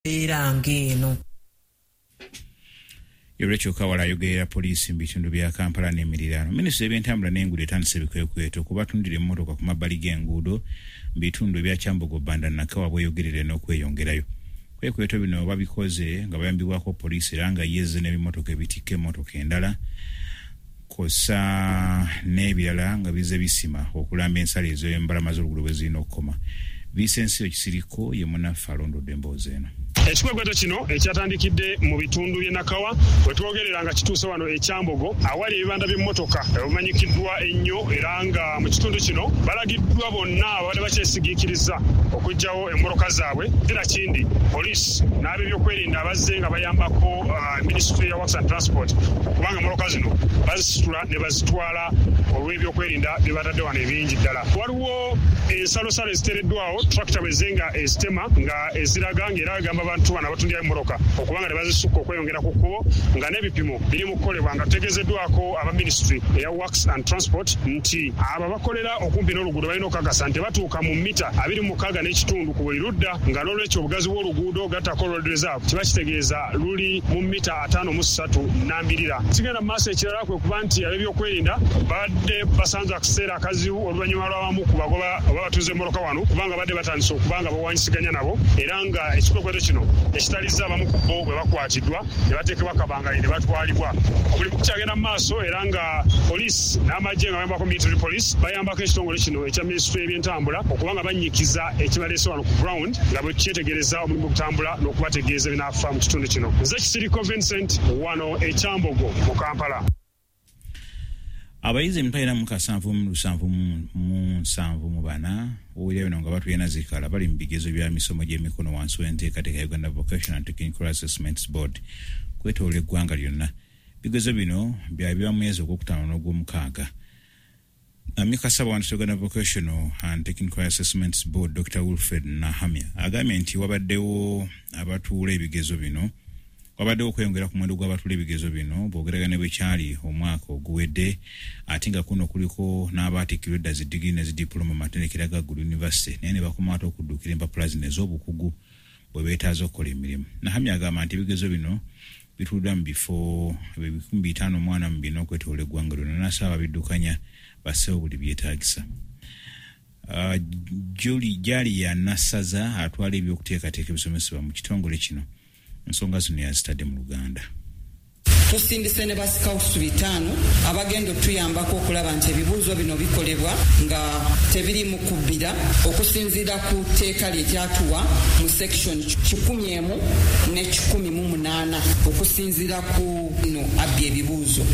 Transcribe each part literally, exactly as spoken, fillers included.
Mbeera ng'eno. Rachel Kawala ayogerera poliisi mu bitundu bya Kampala n'emiriraano. Minisitule y'ebyentambula n'enguudo etandise ebikwekweto ku batundira emmotoka ku mabbali g'enguudo mu bitundu ebya Kyambogo, Banda, Nakawa, Bweyogerere n'okweyongerayo. Ebikwekweto bino babikoze nga bayambibwako poliisi era nga yezze n'ebimotoka ebitikka emmotoka endala kw'ossa n'ebirala nga bizze bisima okulamba ensalo ez'embalama z'oluguudo bwe zirina okukoma. Vincent Kisiriko ye munnaffe alondodde emboozi eno. Ekikwekweto kino ekyatandikidde mu bitundu by'e Nakawa we twogerera nga kituuse wano e Kyambogo awali ebibanda by'emmotoka ebimanyikiddwa ennyo, era nga mu kitundu kino balagiddwa bonna ababadde bakyesigiikiriza okuggyawo emmotoka zaabwe. Era kindi poliisi n'ab'ebyokwerinda abazze nga bayambako uh, Ministry ya Works and Transport kubanga emmotoka zino bazisitula ne bazitwala olw'ebyokwerinda bye batadde wano ebingi ddala. Waliwo ensalosalo eziteereddwawo tractor bwe nga ezitema nga eziraga ng'era agamba abantu bano abatundira emmotoka okubanga tebazisukka okweyongera ku kkubo, nga n'ebipimo biri mu kukolebwa nga tutegeezeddwako aba Ministry eya Works and Transport nti abo abakolera okumpi n'oluguudo balina okukakasa nti batuuka mu mita abiri mu mukaaga n'ekitundu ku buli ludda, nga n'olwekyo obugazi bw'oluguudo gattako road reserve kiba kitegeeza luli mu mita ataano mu ssatu nnambirira. Kigenda mu maaso ekirala kwe kuba nti ab'ebyokwerinda babadde basanze akaseera akazibu oluvannyuma lw'abamu ku bagoba oba batuuze emmotoka wano kubanga badde batandise okuba nga bawanyisiganya nabo, era nga ekikwekweto kino ekitalizza abamu ku bo bwe bakwatiddwa ne bateekebwa kabangali ne batwalibwa. Omulimu gukyagenda mu maaso era nga poliisi n'amagye nga bayambako military police bayambako ekitongole kino ekya minisitule y'ebyentambula okuba nga bannyikiza ekibaleese wano ku ground nga bwe kyetegereza omulimu gutambula n'okubategeeza ebinaafa mu kitundu kino. Nze Kisiriko Vincent wano e Kyambogo mu Kampala. Abayizi emitwalo ena mu kasanvu mu lusanvu mu nsanvu mu bana owulira bino nga batulina zikala bali mu bigezo bya misomo gy'emikono wansi w'enteekateeka ya Uganda Vocational and Technical Assessments Board kwetooloola eggwanga lyonna. Bigezo bino byabibwa mu mwezi ogwokutaano n'ogwomukaaga. Amyuka Ssaabawandiisi Uganda Vocational and Technical Assessments Board Doctor Wilfred Nahamya agambye nti wabaddewo abatuula ebigezo bino wabaddewo okweyongera ku muwendo gw'abatuula ebigezo bino bw'ogeraganya ne bwe kyali omwaka oguwedde, ate nga kuno kuliko n'abaatikkirwa edda zi digiri ne zi diploma mu matendekero aga Gulu University naye ne bakoma ate okudduukira empapula zino ez'obukugu bwe beetaaza okukola emirimu. Nahamya agamba nti ebigezo bino bituuliddwa mu bifo ebikumi bitaano mu ana mu bina okwetooloola eggwanga lyonna, n'asaba ababiddukanya basseewo buli byetaagisa. Uh, Julie Jalia Nassaza atwala ebyokuteekateeka ebisomesebwa mu kitongole kino ensonga zino yazitadde mu Luganda. Tusindise ne basikawutu bitaano abagenda otuyambako okulaba nti ebibuuzo bino bikolebwa nga tebiri mu kubbira okusinziira ku tteeka lye lyatuwa mu section kikumi emu ne kikumi mu munaana okusinziira ku no abbi ebibuuzo.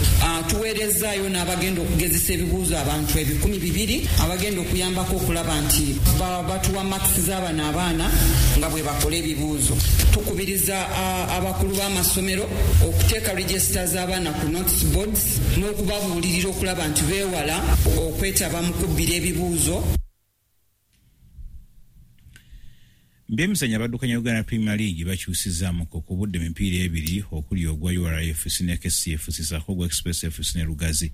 Tuweerezaayo n'abagenda okugezesa ebibuuzo abantu ebikumi bibiri abagenda okuyambako okulaba nti batuwa makisi z'abano abaana nga bwe bakola ebibuuzo. Tukubiriza abakulu b'amasomero okuteeka register z'abaana ku notice boards n'okubabuulirira okulaba nti beewala okwetaba mu kubbira ebibuuzo. Byemizannyo abaddukanya Uganda Premier League bakyusizaamuko ku budde emipiira ebiri okuli ogwa U R F C ne K C F C ssaako ogwa Express F C ne Lugazi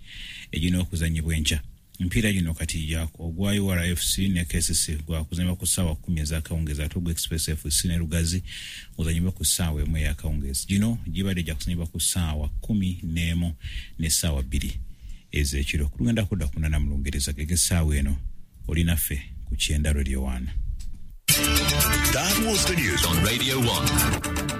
egirina okuzannyibwa enkya. Emipiira gino kati ogwa U R F C ne K C C gwakuzannyibwa ku ssaawa kkumi ez'akawungeezi ate ogwa Express F C ne Lugazi guzannyibwa ku ssaawa emu ey'akawungeezi. Gino gibadde gya kuzannyibwa ku ssaawa kkumi n'emu n'essaawa bbiri ez'ekiro. Tugenda kudda ku munaana mu Lungereza gege essaawa eno oli naffe ku Kyenda Radio one. That was the news on Radio one.